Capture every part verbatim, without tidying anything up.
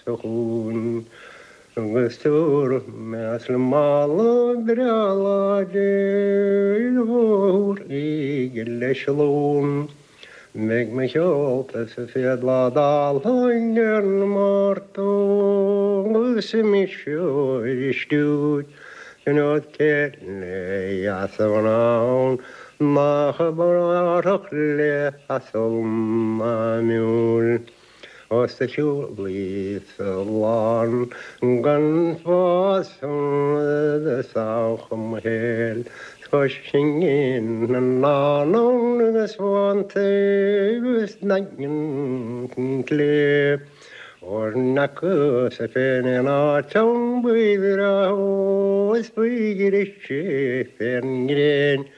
sa chuan agus tabharfaidh mé le mála breá láidir mhór í leis an lón. Beidh mo sheolta sa chéad lá d'álainn ar an Máirt agus mise ar stiúir an céile as an nach brách le asal miúil. Os a siúlaí sa lán gan fás sa héil Coisingin na ná agus bhánta agus na lé. Or na sa féin á buir is buir sé fén ngréin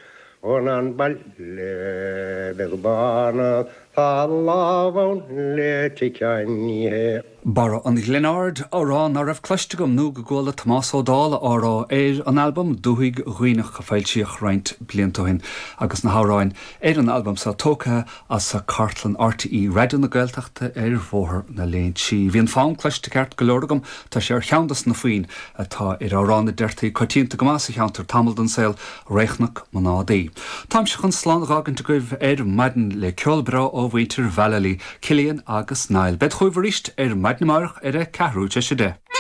ó an baile beag bána tá lámh le ticeaníthe. Barra an Ghlinn Aird amhrán nach raibh cloiste agam nó go gcuala Tomás Ó Dála á rá ar an albam Dúthaigh Dhuibhneach a foilsíodh roinnt blianta ó shin agus na hamhráin ar an albam seo tógtha as cartlann RTÉ Raidió na Gaeltachta ar Bhóthar na Léinsí. Bhí an fonn cloiste ceart go leor agam tá sé ar cheann de na foinn atá ar amhrán a deirtí coitianta go maith sa cheantar tamall den saol Réchnoc Mnádaí. Táimse chun slán a fhágaint agaibh ar maidin le ceol breá ó mhuintir Vallely, Cillian agus Niall. Bead chugaibh arís ar maidin amárach ar a ceathrú tar éis a deich.